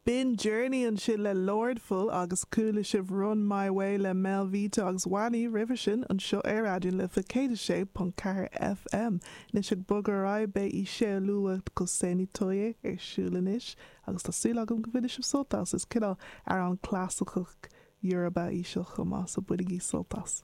B'in Journey ansin le Lordful agus chuala sibh Run My Way le Melvita agus Wanni roimhe sin anseo ar Raidió na Life 106.4 FM. Anois ag bogadh ar aghaidh beidh Iseoluwa Koseni Toye ar siúl anois agus tá súil agam go mbainfidh sibh sult as. Is cineál amhrán clasaiceach Yoruba í seo chomh maith so bainigí sult as.